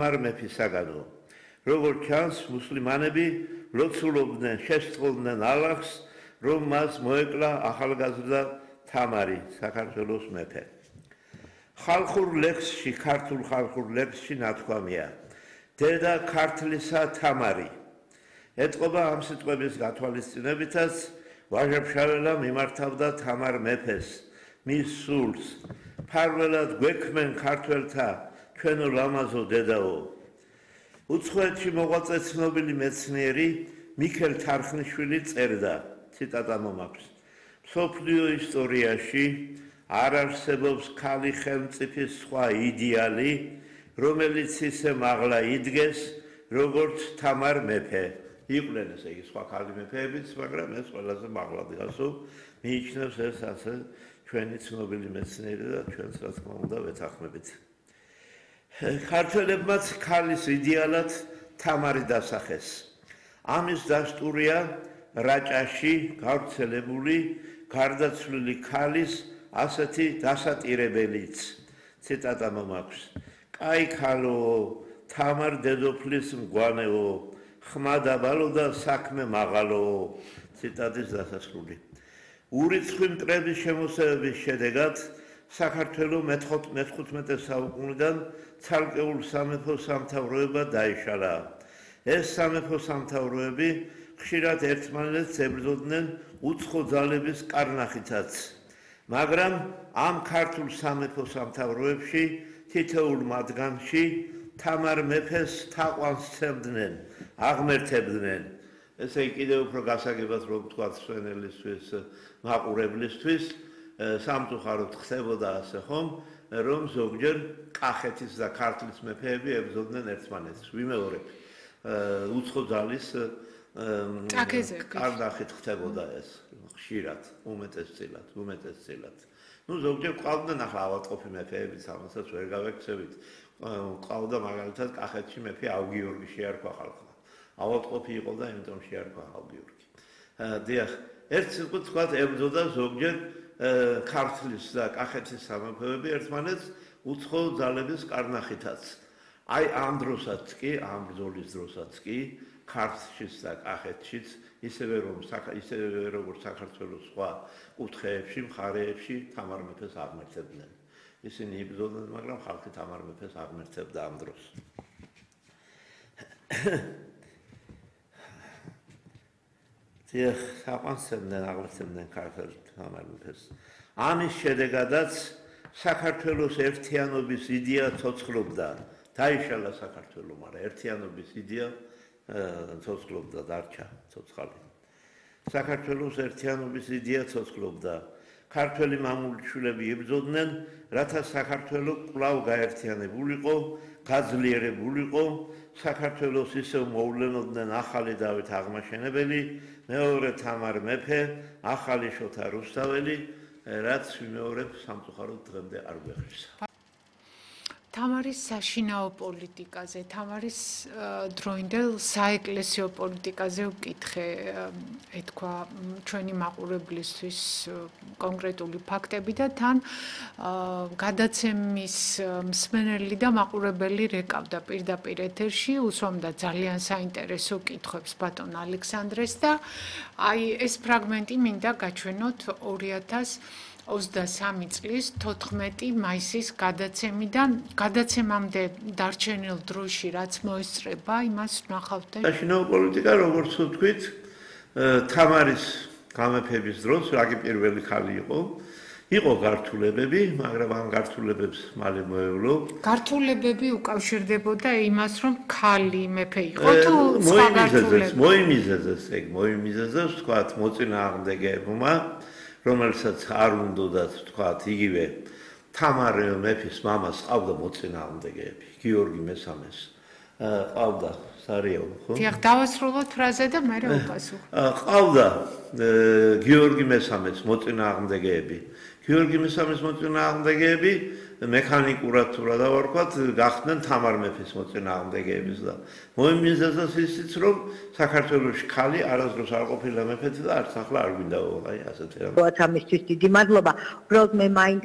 მეფისაგანო. Როგორც ჩანს, მუსლიმანები ლოცულობდნენ, შესწავლდნენ ალლაჰს, რომ მას მოეკლა ახალგაზრდა თამარი, საქართველოს მეფე. ხალხურ ლექსში, ქართულ ხალხურ ლექსში ნათქვამია: დედა ქართლისა თამარი. ეტყობა ამ სიტყვების გათვალისწინებითაც ვაჟა-ფშაველა მიმართავდა თამარ მეფეს, მის სულს. ფარველად გვექმენ ქართველთა ჩვენო ლამაზო დედაო. უცხოეთში მოღვაწე ცნობილი მეცნიერი მიქელ თარხნიშვილი წერდა, ციტატა მომაქვს: მსოფლიო ისტორიაში არ არსებობს ქალი ხელმწიფის სხვა იდეალი, რომელიც ისე მაღლა იდგეს, როგორც თამარ მეფე. იყვნენ ესე იგი სხვა ქალი მეფეებიც, მაგრამ ეს ყველაზე მაღლა დგასო, მიიჩნევს ეს ასე ჩვენი ცნობილი მეცნიერი და ჩვენც რა თქმა უნდა ვეთანხმებით. ქართველებმაც ქალის იდეალად თამარი დასახეს. ამის დასტურია რაჭაში გავრცელებული გარდაცვლილი ქალის ასეთი დასატირებელიც. ციტატა მომაქვს: კაი ქალო, თამარ დედოფლის მგვანეო, ხმა დაბალო და საქმე მაღალო. ციტატის დასასრული. ურიცხვი მტრების შემოსევების შედეგად საქართველოს მე-15 საუკუნიდან ცალკეულ სამეფო სამთავროებად დაიშალა. ეს სამეფო სამთავროები ხშირად ერთმანეთს ებრძოდნენ უცხო ძალების კარნახითაც. მაგრამ ამ ქართულ სამეფო სამთავროებში თითოეულ მათგანში თამარ მეფეს თაყვანს სცემდნენ, აღმერთებდნენ. ესე იგი კიდევ უფრო გასაგებად რომ ვთქვათ სვენელისთვის, მაყურებლისთვის, სამწუხაროდ ხდებოდა ასე ხომ, რომ ზოგჯერ კახეთის და ქართლის მეფეები ებრძოდნენ ერთმანეთს. ვიმეორებ, უცხო ძალის კარნახით ხდებოდა ეს ხშირად, უმეტესწილად. ნუ ზოგჯერ ყავდნენ ახლა ავადმყოფი მეფეებიც, ამასაც ვერ გავექცევით. ყავდა მაგალითად კახეთში მეფე ავგიორგი შეარქვა ხალხმა. ავადმყოფი იყო და იმიტომ შეარქვა ავგიორგი. დიახ, ერთ სიტყვით ვთქვათ, ებრძოდა ზოგჯერ ქართლის და კახეთის სამეფოები ერთმანეთს უცხო ძალების კარნახითაც. აი ამ დროსაც კი, ამ ბრძოლის დროსაც კი ქართლშიც და კახეთშიც ისევე როგორც საქართველოს სხვა კუთხეებში, მხარეებში თამარ მეფეს აღმერთებდნენ. ისინი იბრძოდნენ, მაგრამ ხალხი თამარ მეფეს აღმერთებდა ამ დროს. დიახ, თაყვანსცემდნენ, აღმერთებდნენ ქართველი თამარ მეფეს. ამის შედეგადაც საქართველოს ერთიანობის იდეა ცოცხლობდა. დაიშალა საქართველო, მაგრამ ერთიანობის იდეა ცოცხლობდა, დარჩა ცოცხალი. საქართველოს ერთიანობის იდეა ცოცხლობდა. ქართველი მამულიშვილები იბრძოდნენ, რათა საქართველო კვლავ გაერთიანებულიყო, გაძლიერებულიყო, საქართველოს ისევ მოვლენოდნენ ახალი დავით აღმაშენებელი, მეორე თამარ მეფე, ახალი შოთა რუსთაველი, რაც ვიმეორებ სამწუხაროდ დღემდე არ გვეხმარს. თამარის საშინაო პოლიტიკაზე, თამარის დროინდელ საეკლესიო პოლიტიკაზე ვკითხე, ეთქვა ჩვენი მაყურებლისთვის კონკრეტული ფაქტები და თან გადაცემის მსმენელი და მაყურებელი რეკავდა პირდაპირ ეთერში, უსვამდა ძალიან საინტერესო კითხვებს ბატონ ალექსანდრეს და აი ეს ფრაგმენტი მინდა გაჩვენოთ 2023 წლის 14 მაისის გადაცემიდან, გადაცემამდე დარჩენილ დროში რაც მოესწრება, იმას ვნახავთ. საშინაო პოლიტიკა, როგორც ვთქვით, თამარის გამეფების დროს, რაგი პირველი ქალი იყო, იყო გართულებები, მაგრამ ამ გართულებებს მალე მოევლო. გართულებები უკავშირდებოდა იმას, რომ ქალი მეფე იყო თუ სხვა გართულები? მოიმიზეზეს, ვთქვათ, მოწინააღმდეგეებმა, რომელსაც არ უნდათ ვთქვათ, იგივე თამარ მეფის მამას ყავდა მოწინააღმდეგეები, გიორგი მესამეს ყავდა სარიაო, ხო? დიახ, დავასრულოთ ფრაზე და მე ვუპასუხო. ყავდა გიორგი მესამეს მოწინააღმდეგეები. გიორგი მესამეს მოწინააღმდეგეები მექანიკურად თუ რა დავარქვათ, გახდნენ თამარ მეფის მოწინააღმდეგეების და მოიმიზეზეს ისიც, რომ საქართველოში ქალი არასდროს არ ყოფილა მეფეთი და არც ახლა არ გვინდა, აი ასეთი რამე. ამისთვის დიდი მადლობა. უბრალოდ მე მაინტერესებს